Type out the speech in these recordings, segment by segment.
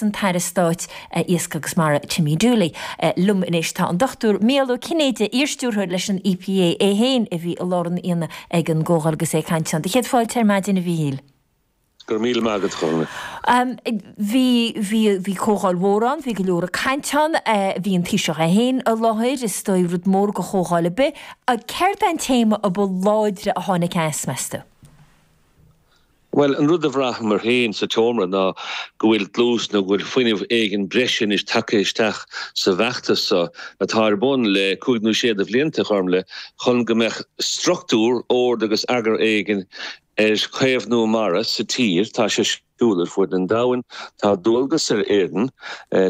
An tAire Stáit Iascaigh agus Mara Timmy Dooley. Liom anois tá an Dr Mícheál Ó Cinnéide, iarstiúrthóir leis an EPA, é féin a bhí i lár an aonaigh ag an gcomhdháil agus é ag caint ann. Do chéad fáilte ar maidin, a Mhíchíl. Go raibh míle maith agat, a Chormaic. Bhí, bhí, bhí comhdháil mhór ann, bhí go leor ag caint ann, bhí an Taoiseach é féin i láthair, is dóigh rud mór do chomhdháil ar bith. Céard é an téama a ba láidre a tháinig as, meas tú? Bhuel, an rud a bhraitheamar féin sa tseomra ná go bhfuil dlús nó go bhfuil fuinneamh éigin breise anois tagtha isteach sa bhfeachtas seo atá ar bun le cúig nó sé de bhlianta, a Chormaic, chun go mbeadh struchtúr, ord agus eagar éigin ar chaomhnú mara sa tír. Tá sé ar siúl ar fuaid an domhain. Tá dualgas ar Éirinn,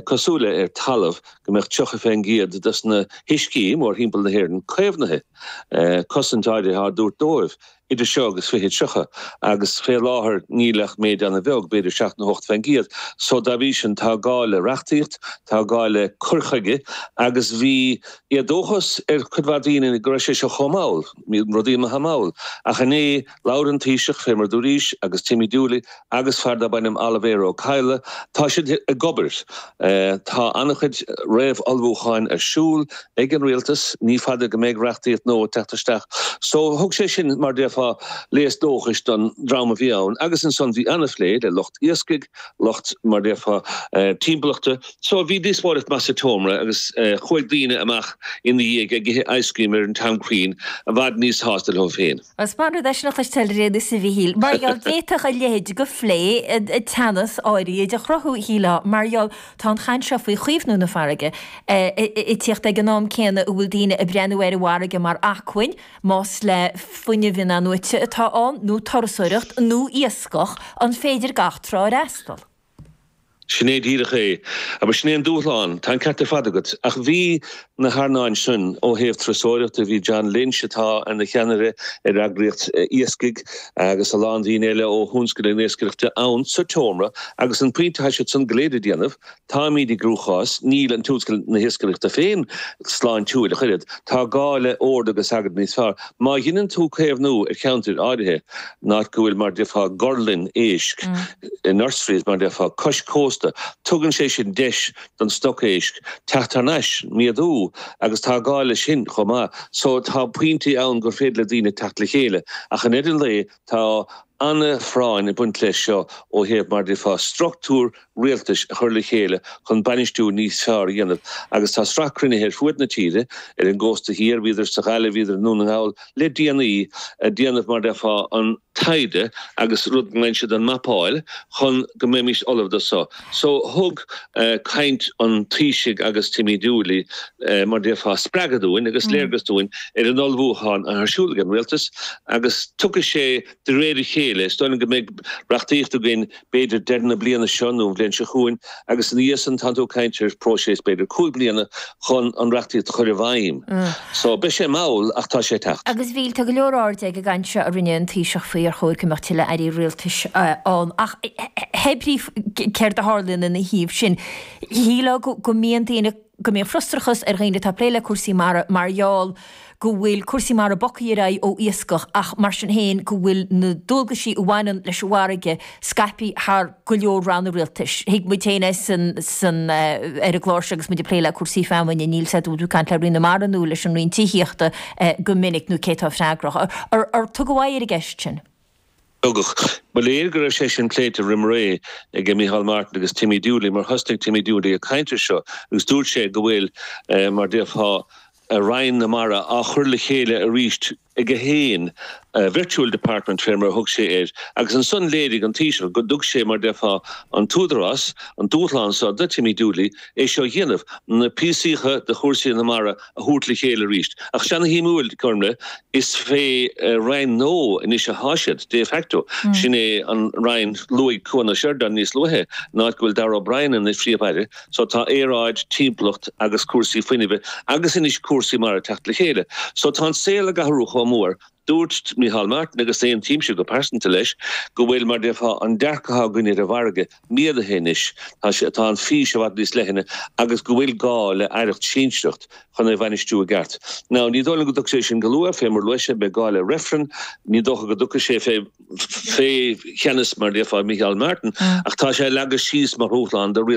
cosúil le ar talamh, go mbeadh 30 fén gcéad dos na huiscí mórthimpeall na hÉireann caomhnaithe, cosaint áirithe á dtabhairt dóibh. idir seo agus 2030, agus fé láthair níl ach méid ana-bheag, b'fhéidir 7 nó 8 fén gcéad. So dá bhrí sin tá gá le reachtaíocht, tá gá le cur chuige agus bhí éadóchas ar chuid mhaith daoine go raibh sé seo chomh mall, bíonn rudaí imithe mall. Ach inné labhair an Taoiseach, fé mar dúraís, agus Timmy Dooley agus fear darb ainm Oilibhéar Ó Cadhla, tá siad ag obair. Tá an-chuid réamh-ullmhúcháin ar siúl ag an rialtas, ní fada go mbeidh reachtaíocht nua ag teacht isteach. So thug sé sin, mar déarfá, léas dóchais don dream a bhí ann agus ansan bhí an-phlé le lucht iascaigh, lucht, mar déarfá, timpeallachta. So bhí díospóireacht maith sa tseomra agus chuaigh daoine amach ina dhiaidh ag ithe ice cream ar an Tom Crean i bhfad níos sásta leo féin. Is maith an rud é sin a chloisteáil ar aon nós a Mhíchíl, mar gheall d'fhéadfadh a leithéid de phlé teannas áirithe a chruthú, shílfeá, mar gheall tá an chaint seo faoi chaomhnú na farraige ag tíocht ag an am céanna a bhfuil daoine ag breathnú ar an bhfarraige mar acmhainn, más le fuinneamh in-athnuaite atá ann, nó turasóireacht, nó iascach, an féidir gach trá a fhreastal? Sin é díreach é. Agus sin é an dúshlán. Tá an ceart ar fad agat. Ach bhí na hearnáin sin ó thaobh turasóireachta, bhí John Lynch atá ina cheannaire ar eagraíocht iascaigh agus a lán daoine eile ó thionscal na hiascaireachta ann sa tseomra agus an pointe atá siad san go léir ag déanamh, táimid i gcruachás, níl an tionscal na hiascaireachta féin sláintiúil ach oiread, tá gá le ord agus eagar níos fearr. Má dheineann tú caomhnú ar cheantair áirithe, in áit go bhfuil mar déarfá gorlann éisc, nurseries mar déarfá, cois cósta. Tugann sé sin deis don stoc éisc teacht thar n-ais, méadú agus tá gá leis sin chomh maith. So tá pointí ann gur féidir le daoine teacht le chéile ach i ndeireadh an lae tá an-phráinn ag baint leis seo ó thaobh mar déarfá struchtúr rialtais a chur le chéile chun bainistiú níos fearr a dhéanamh agus tá sraith cruinnithe ar fuaid na tíre, ar an gcósta thiar, bhíodar sa Ghaillimh, bhíodar i nDún na nGall, le déanaí ag déanamh mar déarfá an taighde agus rud go nglaonn siad an mapáil chun go mbeimis ullamh do so. So thug caint an Taoisigh agus Timmy Dooley mar déarfá spreagadh dúinn agus léargas dúinn ar an ullmhúchán atá ar siúl ag an Rialtas agus tiocfaidh sé de réir a chéile. Is dóigh liom go mbeidh reachtaíocht againn b'fhéidir deireadh na bliana seo nó an bhliain seo chugainn, agus ina dhiaidh san tánn tú ag caint ar phróiseas b'fhéidir 5 bliana chun an reachtaíocht a chur i bhfeidhm. So, beidh sé mall ach tá sé ag teacht. Agus a Mhíchíl, tá go leor airde ag an gcaint seo a rinne an Taoiseach faoi ar chóir go mbeadh tuilleadh airí rialtais ann ach hé brí céard a tharlaíonn ina thaobh sin, shílfeá go mbíonn daoine, go mbíonn frustrachas ar dhaoine atá ag plé le cúrsaí mara mar gheall go bhfuil cúrsaí mara bogtha ar aghaidh ó iascach ach mar sin féin go bhfuil na dualgaisí a bhaineann leis an bhfarraige scaipthe thar go leor ranna rialtais. Thuig muid féin é san, san, ar an gclár seo agus muid ag plé le cúrsaí feamainne, níl 's agat an bhfuil tú ag caint le Roinn na Mara nó leis an Roinn Tithíochta go minic nó cé atá freagrach. Ar, ar tugadh aghaidh ar an gceist sin? Tugadh. Ba léir go raibh sé sin pléite roim ré ag Micheál Martin agus Timmy Dooley mar thosnaigh Timmy Dooley ag caint ar seo agus dúirt sé go bhfuil, mar déarfá, Roinn na Mara á chur le chéile arís aige féin, virtual department fé mar a thug sé air, agus ansan léirigh an Taoiseach go dtug sé, mar déarfá, an t-údarás, an dúshlán so do Timmy Dooley é seo a dhéanamh, na píosaíocha de chúrsaí na mara a thabhairt le chéile arís. Ach ana-shuimiúil, Gormlaith, is fé roinn nua anois athá siad, de facto. Sin é an roinn, luaigh Cuan Ó Seireadáin níos luaithe, in áit go bhfuil Darragh O'Brien ina phríomh-aire. So tá aeráid, timpeallacht agus cúrsaí fuinnimhe agus anois cúrsaí mara ag teacht le chéile. So tá an saol ag athrú chomh mór. Dúirt Micheál Martin, agus aontaímse go pearsanta leis, go bhfuil, mar déarfá, an dearcadh atá againn ar an bhfarraige méadaithe anois, tá sé, tá an fís i bhfad níos leithne agus go bhfuil gá le aireacht sinsearach chun é a bhainistiú i gceart. Now, ní dóigh liom go dtiocfaidh sé sin go luath, fé mar a luaigh sé, beidh gá le reifreann, ní dócha go dtiocfaidh sé fé, fé cheannas, mar déarfá, Micheál Martin, ach tá sé leagtha síos mar dhúshlán do rialtas.